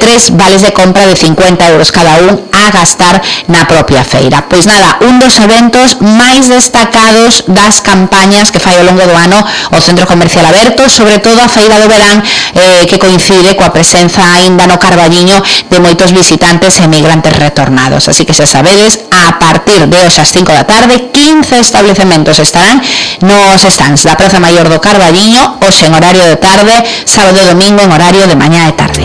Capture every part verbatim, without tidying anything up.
tres vales de compra de cincuenta euros cada un a gastar na propia feira. Pois nada, un dos eventos máis destacados das campañas que fai ao longo do ano o Centro Comercial Aberto, sobre todo a Feira do Verán, eh, que coincide coa presenza aínda no Carballiño de moitos visitantes e migrantes retornados. Así que se sabedes, a partir de hoxe ás cinco da tarde, quince establecementos estarán nos stands da Praza Maior do Carballiño, hoxe en horario de tarde, sábado e domingo en horario de mañá e tarde.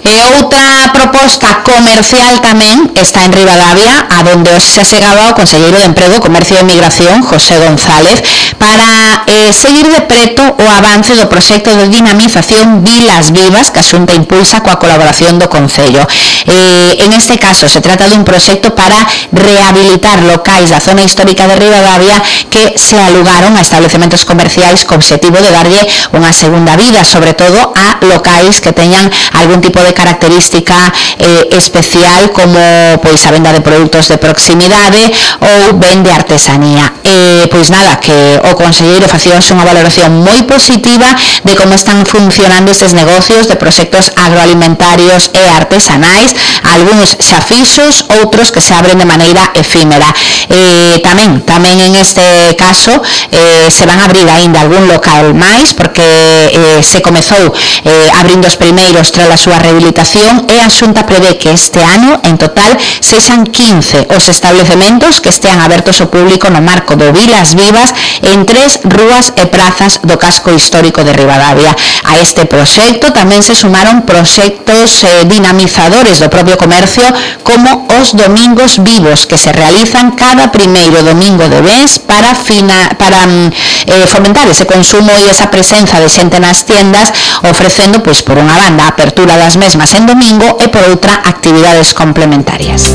E outra proposta comercial tamén está en Ribadavia, a donde hoxe se achegaba o Conselleiro de Emprego, Comercio e Migración, José González, para eh, seguir de preto o avance do proxecto de dinamización Vilas Vivas que a Xunta impulsa coa colaboración do Concello. Eh, en este caso se trata dun proxecto para rehabilitar locais da zona histórica de Ribadavia que se alugaron a estabelecementos comerciais co obxectivo de darlle unha segunda vida, sobre todo a locais que teñan algún tipo de característica eh, especial, como pois a venda de produtos de proximidade ou ben de artesanía. Eh, pois nada, que o conselleiro facía unha valoración moi positiva de como están funcionando estes negocios de proxectos agroalimentarios e artesanais, algúns xa fixos, outros que se abren de maneira efímera. Eh, tamén, tamén en este caso eh, se van a abrir aínda algún local máis, porque eh, se comezou eh, abrindo os primeiros tras a súa rehabilitación, e a Xunta prevé que este ano, en total, sexan quince os establecementos que estean abertos ao público no marco do Vilas Vivas en tres rúas e prazas do casco histórico de Ribadavia. A este proxecto tamén se sumaron proxectos eh, dinamizadores do propio comercio, como os Domingos Vivos, que se realizan cada primeiro domingo de mes para, fina, para eh, fomentar ese consumo e esa presenza de xente nas tiendas, ofrecendo, pois, por unha banda, a apertura das mesmas en domingo e por outra actividades complementarias.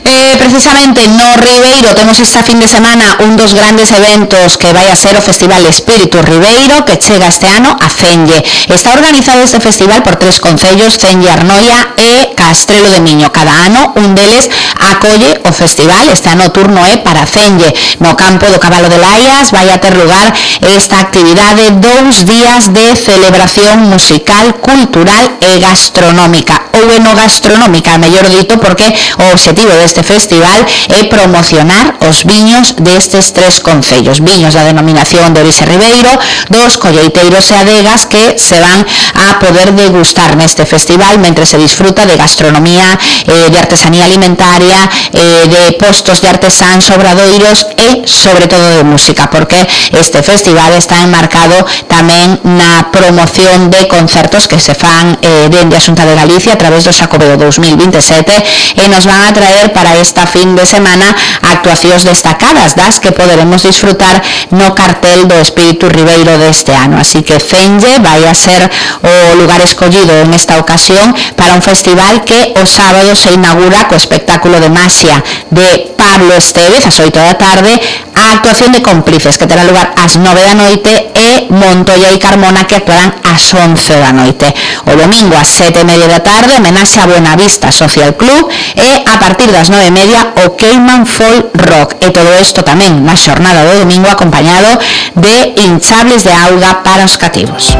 Eh, precisamente no Ribeiro temos esta fin de semana un dos grandes eventos que vai a ser o Festival Espírito Ribeiro, que chega este ano a Cenge. Está organizado este festival por tres concellos, Cenge, Arnoia e Castrelo de Miño. Cada ano un deles acolle o festival. Este ano o turno é para Cenge. No campo do Cabalo de Laias vai a ter lugar esta actividade, dous días de celebración musical, cultural e gastronómica, ou enogastronómica, mellor dito, porque o obxectivo deste festival é promocionar os viños destes tres concellos, viños da denominación de orixe Ribeiro, dos colleiteiros e adegas que se van a poder degustar neste festival mentre se disfruta de gastronomía, eh, de artesanía alimentaria, eh, de postos de artesáns, obradoiros e sobre todo de música, porque este festival está enmarcado tamén na promoción de concertos que se fan eh, dende a Xunta de Galicia a través do Xacobeo dous mil vinte e sete, e nos van a traer para esta fin de semana actuacións destacadas das que poderemos disfrutar no cartel do Espírito Ribeiro deste ano. Así que Cenge vai a ser o lugar escollido en esta ocasión para un festival que o sábado se inaugura co espectáculo de maxia de Pablo Estévez ás oito da tarde, a actuación de Cómplices, que terá lugar ás nove da noite, e Montoya e Carmona, que actuarán ás once da noite. O domingo ás sete e media da tarde, homenaxe a Buenavista Social Club, e a partir das nove e media o Cayman Folk Rock, e todo isto tamén na xornada do domingo acompañado de hinchables de auga para os cativos.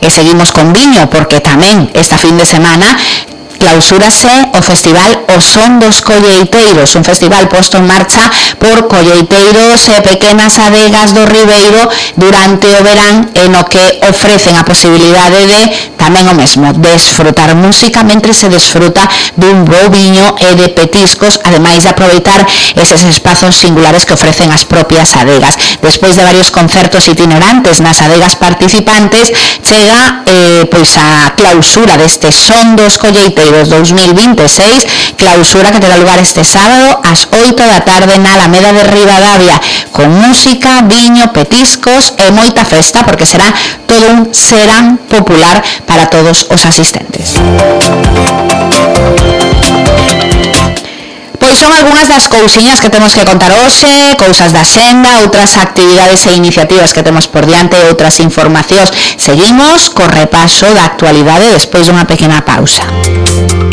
E seguimos con viño, porque tamén esta fin de semana clausúrase o festival O Son dos Colleiteiros, un festival posto en marcha por colleiteiros e pequenas adegas do Ribeiro durante o verán, en o que ofrecen a posibilidade de tamén o mesmo, desfrutar música mentre se desfruta dun bo viño e de petiscos, ademais de aproveitar eses espazos singulares que ofrecen as propias adegas. Despois de varios concertos itinerantes nas adegas participantes, chega eh, pois a clausura deste Son dos Colleiteiros dous mil vinte e seis, clausura que terá lugar este sábado ás oito da tarde na Alameda de Ribadavia, con música, viño, petiscos e moita festa, porque será todo un serán popular para todos os asistentes. Pois son algunhas das cousiñas que temos que contar hoxe, cousas da xenda, outras actividades e iniciativas que temos por diante e outras informacións. Seguimos co repaso da actualidade despois dunha pequena pausa.